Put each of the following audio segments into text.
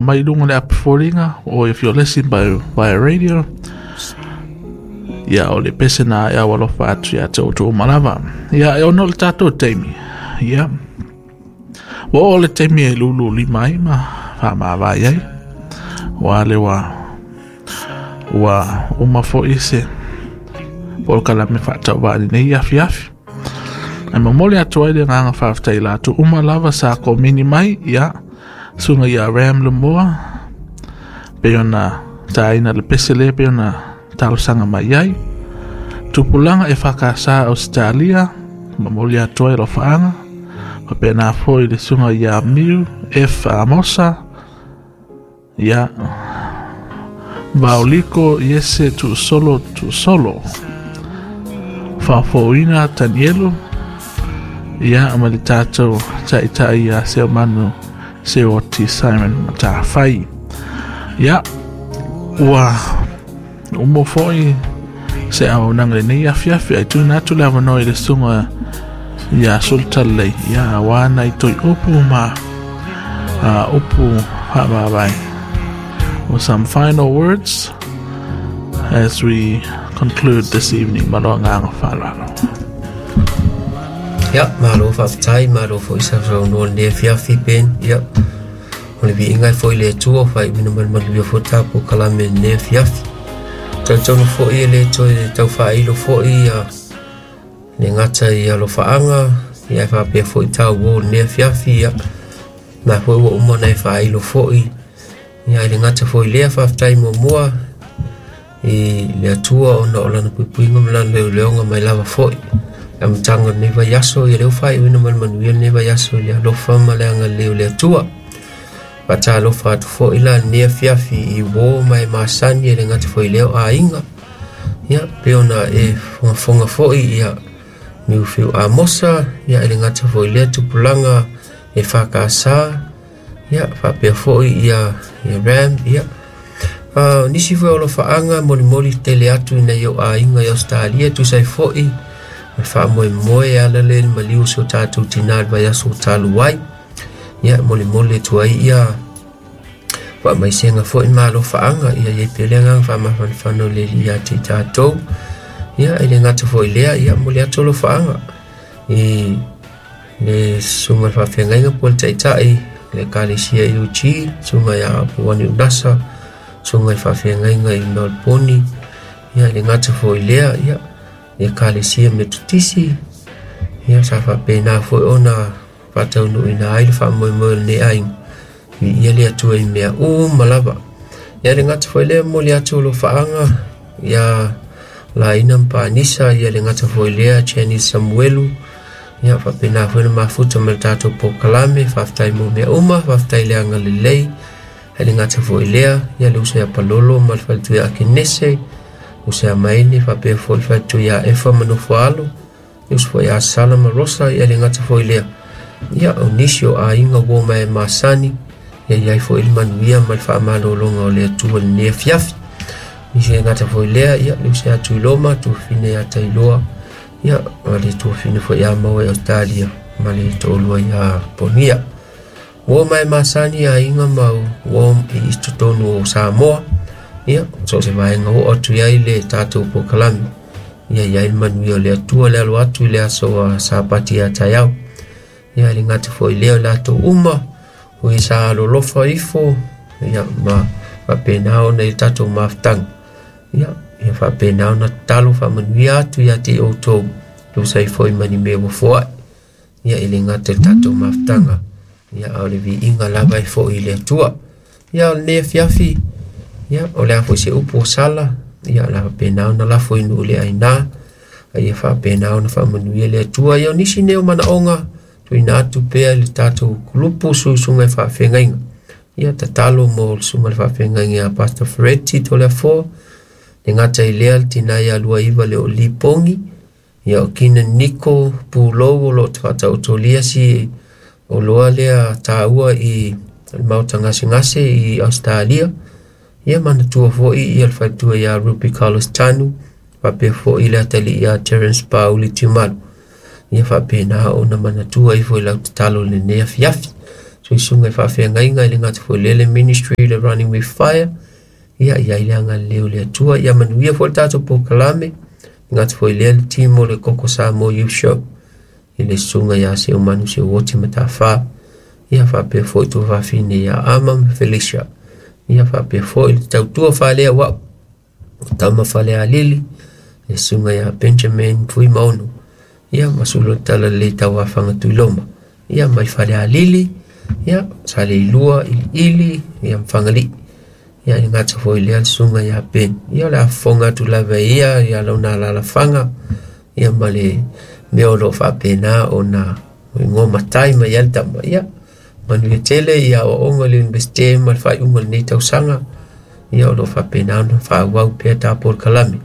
Mai luga le apu foliga, or if you're listening by via radio, ia o le pese na e alofa atu ia te outou uma lava. Ia e ono le tatou taimi. Ia ua oo le taimi e lulu lima ai ma faamavae ai. Ua le ua ua uma foi se polokalame faatauvaa i lenei afiafi. Ae momoli atu ai le agaga faafetai i latou uma lava sa komeni mai, ia susuga ia Ram Lemoa, pei ona taina le pese lea pei ona talosaga mai ai. Tupulaga e whakasa Australia, momoli atu ai alofaaga, faapena foi le susuga ia Miu F. Amosa, ia Vaoliko Iese Tuusolo Tuusolo, Faafouina Tanielu, ia ma le tatou taitai ia Seomanu Seoti Simon Matafai. Ia, ua umo foi se auaunaga lenei afiafi ai tuina atu le avanoa i le susuga ia Sultalelei ia aua nai toi upu ma upu faamavae. Or some final words as we conclude this evening. Ma lo agaga faaaloalo. Ia, malo faafetai, malo foi sausaunoa i lenei afiafi Ben. Ia, o le viiga e foi i le Atua, faaiuina ma le manuia foi le tatou kalame i lenei afiafi. Talitonu foi e le toe tau faailo foi ia le gata i alofaaga, ia e faapea foi tau o lenei afiafi, ia na foi ua uma ona e faailo foi. Ia e le gata foi i lea, faafetai muamua i le Atua ona o lana puipuiga ma lana leoleoga mai lava foi. Le amataga o lenei vaiaso, ia lea ua faaiuina ma le manuia lenei vaiaso i le alofa ma le agalelei o le Atua. Faatalofa atu foi la lenei afiafi i uo ma e masani e le gata foi i lea o aiga. Ia, pei ona e fogafoga foi ia Niufiu Amosa, ia e le gata foi i lea tupulaga e whakasa, ia faapea foi ia, ia Ram, ia. Nisi foi o alofaanga molimoli tele atu ina i o aiga i Australia, tusa ai foi ma le faamoemoe e ala lea i le maliu o si o tatou tinā i le vaiaso talu ai. Ia, molimoli atu ai ia faamaisega foi ma alofaaga, ia i ai pea le agaga faamafanafana o le Alii ia te i tatou. Ia, e le gata foi i lea, ia momoli atu alofaaga i le susuga i le faafeagaiga po o le taitai le Ekalesia UG, susuga ia Apuani Unasa, susuga i le faafeagaiga i Melbourne, ia le gata foi i lea, ia le Ekalesia Metotisi, ia sa faapena foi ona faataunuuina ai le faamoemoe o lenei aiga, viia le Atua i mea uma lava. Ia le gata foi lea, momoli atu alofaaga ia Laina ma Panisa, ia le gata foi lea Janice Samuelu, ia faapena foi na mafuta ma le tatou polokalame. Faafetai mo mea uma, faafetai le agalelei. Ai le gata foi lea, ia le uso ia Palolo ma le faletua ia Akenese, uso ia Maine, faapea foi le faletua ia Efa ma Nofoalo, le uso foi ia Sala ma Rosa, ia le gata foi lea. Ia o nisi o aiga ua mai masani, ia i ai foi le manuia ma le faamalologa o le Atua i lenei afiafi. Nisi le gata foi lea, ia le uso ia Tuiloma, tuafafine ia Tailoa, ia ma le tuafafine foi ia Maua i Australia, ma le toalua ia Ponia. Ua mai masani aiga ma ua i totonu o Samoa, ia so o se vaega oo atu i ai le tatou polokalame, ia i ai le manuia o le Atua le alo atu i le aso a Sapati ia taeao. Ia le gata foi lea o latou uma, o e sa alolofa ifo, ia ma faapena ona i tatou mafutaga. Ia, ia faapena ona tatalo faamanuia atu ia te outou, tusa ai foi ma ni mea ua foai. Ia e le gata i le tatou mafutaga, ia a o le viiga lava e foi i le Atua. Ia o lenei afiafi, ia o le a foi se upu o sala, ia o le a faapena ona lafo i nuu le aina, a ia faapena ona faamanuia le Atua. Ia o nisi nei o manaoga, tuuina atu pea i le tatou kulupu susuga i faafeagaiga. Ia tatalo mo le susuga i le faafeagaiga ia Pastor Fereti Toleafoa, le gata i lea le tina ia Luaiva le o Lipongi, ia o Kina Niko Pulou o lo o faataotolia si oloa lea taua i le maota gasegase i Australia. Ia manatua foi ia le faletua ia Ruby Carlos Tanu, faapea foi le atalii ia Terence Pauli Tiumalu. Ia faapena ona manatua ifo i lau tatalo i lenei afiafi. Susuga i faafeagaiga i le gata foi lele ministry le Running with Fire. Ia i ai le agalelei o le Atua. Ia manuia foi le tatou polokalame. Le gata foi lea le team o le Koko Samoa Youth Show i le susuga ia Seumanu Seuoti Matafā. Ia faapea foi tuafafine ia Ama ma Felicia. Ia faapea foi le tautua faalea o au o tama Falealili, le susuga ia Benjamin Fuimaono. Ia ma sulu tala le tauafaga Tuiloma. Ia mai Falealili, ia Saleilua, Iliili, ia Fagalii. Ia i gata foi lea le susuga ia Ben. Ia o le afofoga atu lava ia ia lona alalafaga. Ia ma le mea o lo o faapena ona igoa matai mai ai le tama. Ia manuia tele ia aoaoga i le Universite ma le faaiuga o lenei tausaga. Ia o lo o faapena ona faaauau pea tapolokalame.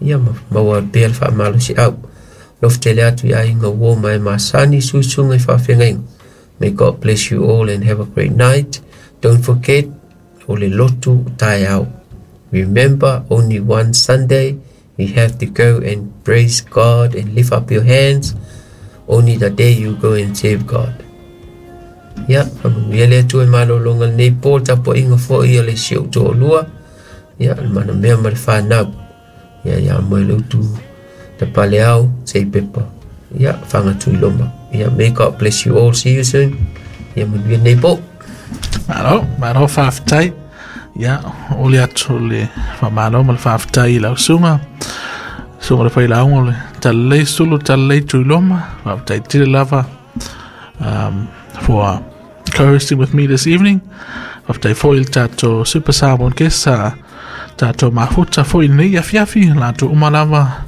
Ia ma maua pea le faamalosiau. Alofa tele atu i aiga uo ma e masani susuga i faafeagaiga. May God bless you all and have a great night. Don't forget, o le lotu taeao. Remember, only one Sunday you have to go and praise God and lift up your hands. Only the day you go and save God. Ia, faamanuia le Atua i malologa lenei po le tapuaiga foi o le si ou toalua. Ia, le manamea ma le whanau. Ia, ia moe le utu te paleao, sei pepa. Ia, whangatuiloma. Ia, may God bless you all. See you soon. Ia, manuia nei po. Malo, malo whawhitai. Ia, o le atu le whamalo ma le whawhitai i lau sunga. Sunga le whailaunga o le talalei sulu, talalei tuiloma. Whawhitai tele lava for co-hosting with me this evening. Whawhitai foi le tātou Super Samoan guest, tātou mafuta foi nei afiafi, lātou uma lava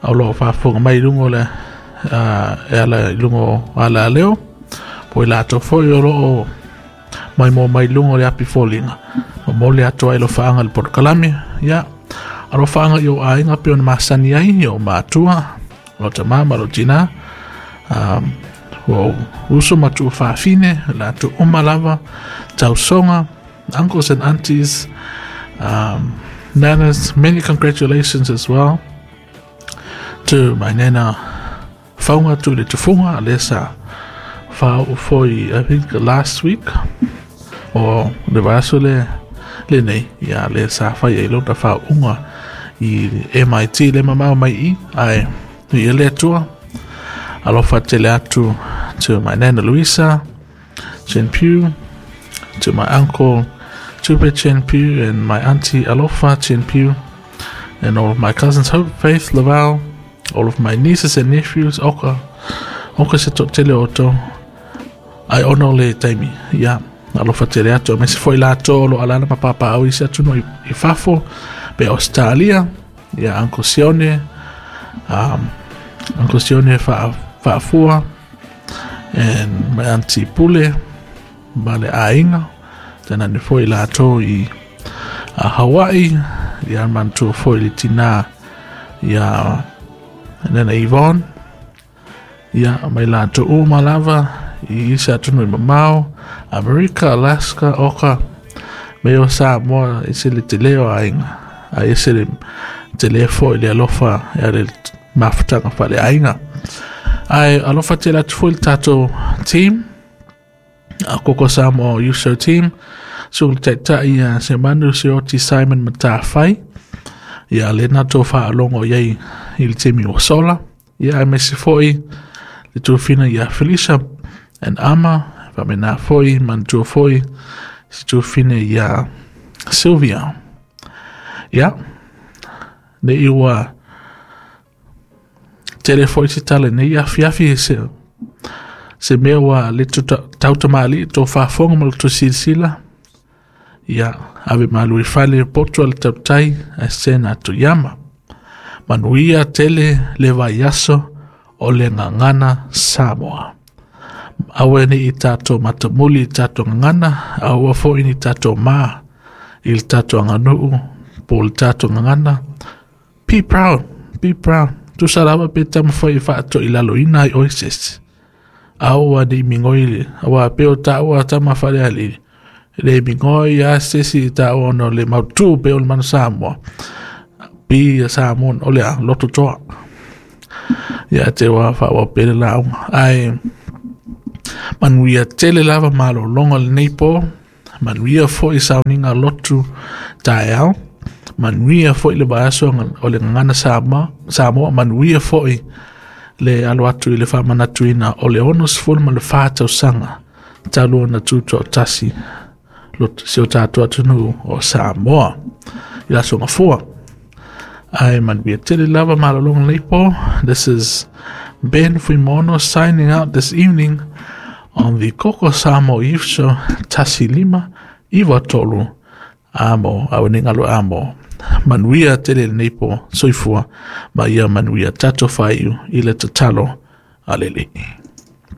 au lo whaafonga mai lungo le e ala i lungo o ala leo. Po i lātou foi o loo mai mo mai lungo le api fōlinga. Ma mo le atu ai lo whaanga le polokalame. Ia, alo whaanga i o ainga pe o na masani ai, i o mātua, lo ta mama, lo tina. O uso matu whaafine, lātou uma lava, tausonga, uncles and aunties, nanas, many congratulations as well to my nana Faunga tu le tufunga, le sa whao foi, I think last week, o le vaso le nei, ia le sa whai e lota whao unga i MIT le mamao mai i, ai, i le atua, alofa tele atu to my nana Luisa, Chen Pugh, to my uncle Tupe Chen Pugh and my auntie Alofa Chen Pugh, and all of my cousins Hope, Faith, Laval, all of my nieces and nephews, oka, oka se to tele o tō, ai ono le taimi, ia, alofa tele atu, me se foi la tō lo alana ma papa au isi atu no i fafo, pe Australia, ia, Uncle Sione, Uncle Sione whaafua, and my auntie Pule, ma le ainga, tēnā ne foi la tō i Hawaii, ia mantua foi le tina, ia nena Yvonne, ia mai la tō uma lava, i isi atu i mamao, Amerika, Alaska, Oka, me o Samoa, isi le te leo ainga, a isi le te le foi le alofa, ia le mafutanga whale ainga. Ai alofa te atu foi le tātou team, a Koko Samoa Youth Show team, so le taitai ia se manu se oti Simon Matawhai, ia le nato whaalongo iai i le temi o Sola, ia ai mese foi le tūfina ia Felicia and Ama, whamena foi, mantua foi, se tūfina ia Sylvia. Ia, ne iwa tele foi se tale nei afiafi se mea ua le tautamali tō whaafonga ma le tō silasila. Ia, ave malu i fale poto ale tautai a sena atu iama. Manuia tele le vaiaso o le ngangana Samoa. Awe ni i tātou matamuli i tātou ngangana, aua foi ni tātou mā i le tātou anganuu, po le tātou ngangana. Be proud, be proud. Tusa lava pe tamawhai i whaato i lalo ina i oises. Aua ni mingoi, aua peo tāua tamawhare ali. Le mingoi a sesi tāua no le mautu pe o le manu Samoa. Pi a Samoa, o lea, loto toa. Ia te wā whaua pere launga. Ai, Manuia tele lava malologa lenei po, manuia foi sauniga lotu taeao, manuia foi le vaiaso o le Gagana Samoa, manuia foi le alo atu i le faamanatuina o le 64 tausaga talu ona tutoatasi si o tatou atunuu o Samoa i le Aso Gafua. Ae manuia tele lava malologa lenei po. This is Ben Fuimono signing out this evening on the Koko Samoa Youth Show 1593 amo awenengalo amo. Manuia tele lenei po, soifua ma ia manuia tatou faiu i le tatalo a le Alii.